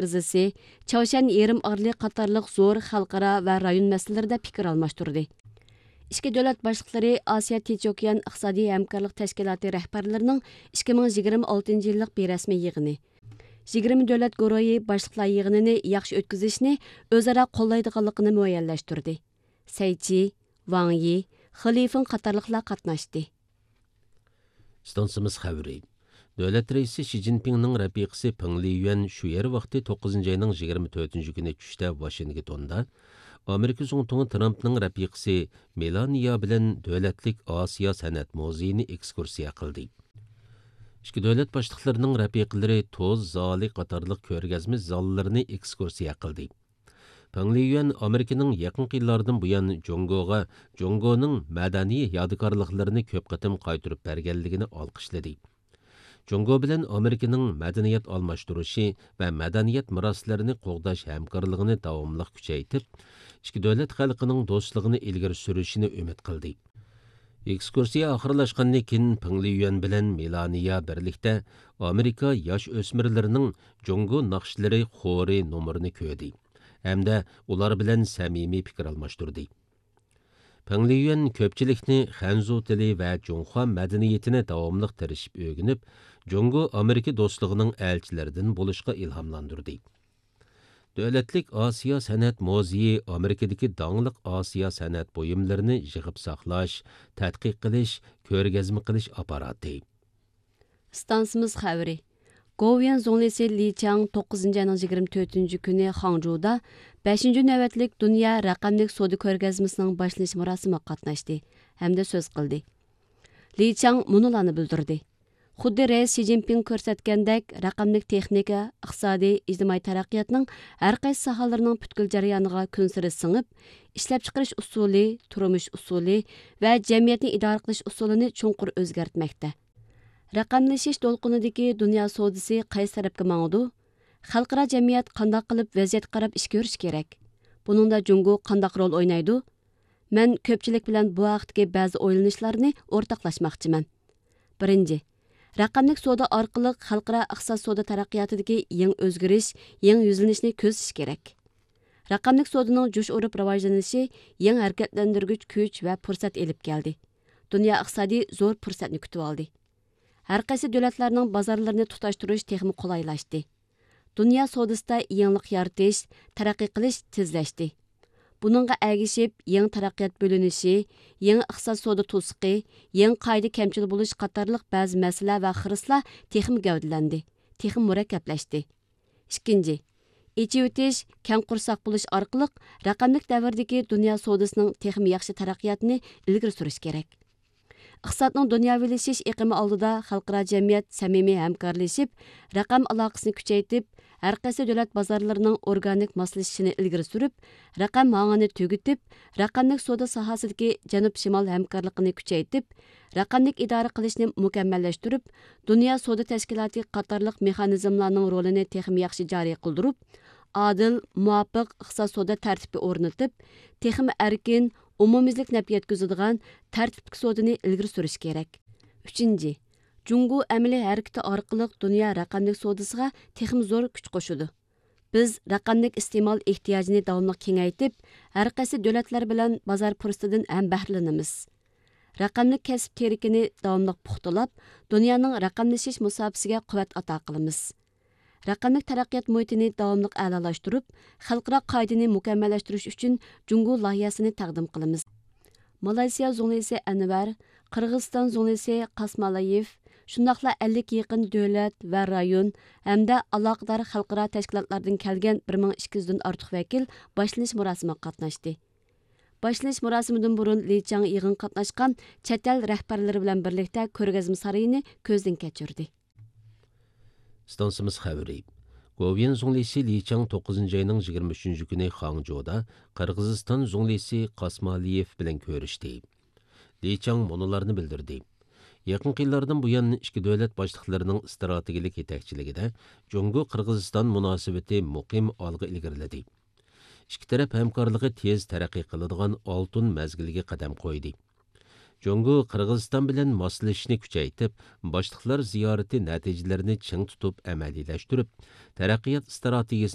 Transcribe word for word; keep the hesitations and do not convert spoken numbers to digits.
ئېغىزىسى، چاۋشيەن يېرىم ئارىلى قاتارلىق زور خەلقئارا ۋە رايون مەسىلىلىرىدە پىكىر ئالماشتۇردى. ئىككى دۆلەت باشلىقلىرى ئاسىيا تىنچ ئوكيان ئىقتىسادىي ھەمكارلىق تەشكىلاتى رەھبەرلىرىنىڭ ئىككى مىڭ يىگىرمە ئالتىنچى يىللىق بىرەسمىي يىغىنى، يىگىرمە دۆلەت گۇرۇھى باشلىقلار يىغىنىنى ياخشى ئۆتكۈزۈشنى ئۆزئارا قوللايدىغانلىقىنى مۇئەييەنلەشتۈردى. سەي چى، ۋاڭ يى، خې لىفېڭ قاتارلىقلار قاتناشتى. ئىستانسىمىز خەۋىرى. دۆلەت رەئىسى شى جىنپىڭنىڭ رەپىقىسى پېڭ لىيۈەن شۇ يەر ۋاقتى توققۇزىنچى ئاينىڭ يىگىرمە تۆتىنچى كۈنى چۈشتە ۋاشىنگتوندا ئامېرىكا زۇڭتۇڭى ترامپنىڭ رەپىقىسى مېلانىيا بىلەن دۆلەتلىك ئاسىيا سەنئەت مۇزېيىنى ئېكسكۇرسىيە قىلدى. ئىككى دۆلەت باشلىقلىرىنىڭ رەپىقىلىرى توز زالى قاتارلىق كۆرگەزمە زاللىرىنى ئېكسكۇرسىيە قىلدى. پېڭ لىيۈەن ئامېرىكىنىڭ يېقىنقى يىللاردىن بۇيان جۇڭگوغا جۇڭگونىڭ مەدەنىي يادىكارلىقلىرىنى كۆپ قېتىم قايتۇرۇپ بەرگەنلىكىنى ئالقىشلىدى. جۇڭگو بىلەن ئامېرىكىنىڭ مەدەنىيەت ئالماشتۇرۇشى ۋە مەدەنىيەت مىراسلىرىنى قوغداش ھەمكارلىقىنى داۋاملىق كۈچەيتىپ، ئىككى دۆلەت خەلقىنىڭ دوستلۇقىنى ئىلگىرى سۈرۈشىنى ئۈمىد قىلدى. ئېكسكۇرسىيە ئاخىرلاشقاندىن كېيىن، پېڭ لىيۈەن بىلەن مېلانىيا بىرلىكتە ئامېرىكا ياش ئۆسمۈرلىرىنىڭ جۇڭگو ناخشىلىرى خورى نومۇرىنى كۆردى ھەمدە ئۇلار بىلەن سەمىمىي پىكىر ئالماشتۇردى. پېڭ لىيۈەن كۆپچىلىكنى خەنزۇ تىلى ۋە جۇڭخۇا مەدەنىيىتىنى داۋاملىق تىرىشىپ ئۆگىنىپ، جۇڭگو ئامېرىكا دوستلۇقىنىڭ ئەلچىلىرىدىن بولۇشقا ئىلھاملاندۇردى. دۆلەتلىك ئاسىيا سەنئەت مۇزېيى ئامېرىكىدىكى داڭلىق ئاسىيا سەنئەت بۇيۇملىرىنى يىغىپ ساقلاش، تەتقىق قىلىش، كۆرگەزمە قىلىش ئاپپاراتى. ئىستانسىمىز خەۋىرى. گوۋۇيۈەن زۇڭلىسى لى چاڭ توققۇزىنچى ئاينىڭ يىگىرمە تۆتىنچى كۈنى خاڭجۇدا بەشىنچى نۆۋەتلىك دۇنيا رەقەملىك سودا كۆرگەزمىسىنىڭ باشلىنىش مۇراسىمىغا قاتناشتى ھەمدە سۆز قىلدى. لى چاڭ مۇنۇلارنى بىلدۈردى: خۇددى رەئىس شى جىنپىڭ كۆرسەتكەندەك، رەقەملىك تېخنىكا، ئىقتىسادىي، ئىجتىمائىي تەرەققىياتنىڭ ھەر قايسى ساھەلىرىنىڭ پۈتكۈل جەريانىغا كۈنسېرى سىڭىپ، ئىشلەپچىقىرىش ئۇسۇلى، تۇرمۇش ئۇسۇلى ۋە جەمئىيەتنى ئىدارە قىلىش ئۇسۇلىنى چوڭقۇر ئۆزگەرتمەكتە. رەقەملىشىش دولقۇنىدىكى دۇنيا سودىسى قايسى تەرەپكە ماڭىدۇ؟ خەلقئارا جەمئىيەت قانداق قىلىپ ۋەزىيەتكە قاراپ ئىش كۆرۈشى كېرەك؟ بۇنىڭدا جۇڭگو قانداق رول ئوينايدۇ؟ مەن كۆپچىلىك بىلەن بۇ ھەقتىكى بەزى ئويلىنىشلارنى ئورتاقلاشماقچىمەن. بىرىنچى، رەقەملىك سودا ئارقىلىق خەلقئارا ئىقتىساد سودا تەرەققىياتىدىكى يېڭى ئۆزگىرىش، يېڭى يۈزلىنىشنى كۆزىتىش كېرەك. رەقەملىك سودىنىڭ جۇش ئۇرۇپ راۋاجلىنىشى يېڭى ھەرىكەتلەندۈرگۈچ كۈچ ۋە پۇرسەت ئېلىپ كەلدى. دۇنيا ئىقتىسادى زور پۇرسەتنى كۈتۈۋالدى. ھەر قايسى دۆلەتلەرنىڭ بازارلىرىنى تۇتاشتۇرۇش تېخىمۇ قولايلاشتى. دۇنيا سودىسىدا يېڭىلىق يارىتىش، تەرەققىي قىلىش تېزلەشتى. بۇنىڭغا ئەگىشىپ، يېڭى تەرەققىيات بۆلۈنۈشى، يېڭى ئىقتىساد سودا توسۇقى، يېڭى قائىدە كەمچىل بولۇش قاتارلىق بەزى مەسىلە ۋە خىرىسلار تېخىمۇ گەۋدىلەندى، تېخىمۇ مۇرەككەپلەشتى. ئىككىنچى، ئېچىۋېتىش، كەڭ قورساق بولۇش ئارقىلىق رەقەملىك دەۋردىكى دۇنيا سودىسىنىڭ تېخىمۇ ياخشى تەرەققىياتىنى ئىلگىرى سۈرۈش كېرەك. ئىقتىسادنىڭ دۇنياۋىلىشىش ئېقىمى ئالدىدا خەلقئارا جەمئىيەت سەمىمىي ھەمكارلىشىپ، رەقەم ئالاقىسىنى كۈچەيتىپ، ھەر قايسى دۆلەت بازارلىرىنىڭ ئورگانىك ماسلىشىشىنى ئىلگىرى سۈرۈپ، رەقەم ھاڭىنى تۈگىتىپ، رەقەملىك سودا ساھەسىدىكى جەنۇب شىمال ھەمكارلىقىنى كۈچەيتىپ، رەقەملىك ئىدارە قىلىشنى مۇكەممەللەشتۈرۈپ، دۇنيا سودا تەشكىلاتى قاتارلىق مېخانىزملارنىڭ رولىنى تېخىمۇ ياخشى جارى قىلدۇرۇپ، ئادىل، مۇۋاپىق ئىقتىساد سودا تەرتىپى ئورنىتىپ، تېخىمۇ ئەركىن، ئومۇميۈزلۈك نەپ يەتكۈزىدىغان تەرتىپلىك سودىنى ئىلگىرى سۈرۈش كېرەك. ئۈچىنچى، جۇڭگو ئەمەلىي ھەرىكىتى ئارقىلىق دۇنيا رەقەملىك سودىسىغا تېخىمۇ زور كۈچ قوشىدۇ. بىز رەقەملىك ئىستېمال ئېھتىياجىنى داۋاملىق كېڭەيتىپ، ھەر قايسى دۆلەتلەر بىلەن بازار پۇرسىتىدىن ھەم بەھرىلىنىمىز. رەقەملىك كەسىپ تىرىكىنى داۋاملىق پۇختىلاپ، دۇنيانىڭ رەقەملىشىش مۇساپىسىگە قۇۋۋەت ئاتا قىلىمىز. رەقەملىك تەرەققىيات مۇھىتىنى داۋاملىق ئەلالاشتۇرۇپ، خەلقئارا قائىدىنى مۇكەممەللەشتۈرۈش ئۈچۈن جۇڭگو لايىھەسىنى تەقدىم قىلىمىز. مالايسىيا زۇڭلىسى ئەنۋەر، قىرغىزىستان زۇڭلىسى قاسمالىيېف، شۇنداقلا ئەللىككە يېقىن دۆلەت ۋە رايون ھەمدە ئالاقىدار خەلقئارا تەشكىلاتلاردىن كەلگەن بىر مىڭ ئىككى يۈزدىن ئارتۇق ۋەكىل باشلىنىش مۇراسىمىغا قاتناشتى. باشلىنىش مۇراسىمىدىن بۇرۇن لى چاڭ يىغىنغا قاتناشقان چەت ئەل رەھبەرلىرى بىلەن بىرلىكتە كۆرگەزمە سارىيىنى كۆزدىن كەچۈردى. ئىستانسىمىز خەۋىرى. گوۋۇيۈەن زۇڭلىسى لى چاڭ توققۇزىنچى ئاينىڭ يىگىرمە ئۈچىنچى كۈنى خاڭجۇدا قىرغىزىستان زۇڭلىسى قاسمالىيېف بىلەن كۆرۈشتى. لى چاڭ مۇنۇلارنى بىلدۈردى: يېقىنقى يىللاردىن بۇيان، ئىككى دۆلەت باشلىقلىرىنىڭ ئىستراتېگىيەلىك يېتەكچىلىكىدە جۇڭگو قىرغىزىستان مۇناسىۋىتى مۇقىم ئالغا ئىلگىرىلىدى. ئىككى تەرەپ ھەمكارلىقى تېز تەرەققىي قىلىدىغان ئالتۇن مەزگىلگە قەدەم قويدى. جۇڭگو قىرغىزىستان بىلەن ماسلىشىشنى كۈچەيتىپ، باشلىقلار زىيارىتى نەتىجىلىرىنى چىڭ تۇتۇپ ئەمەلىيلەشتۈرۈپ، تەرەققىيات ئىستراتېگىيىسىنى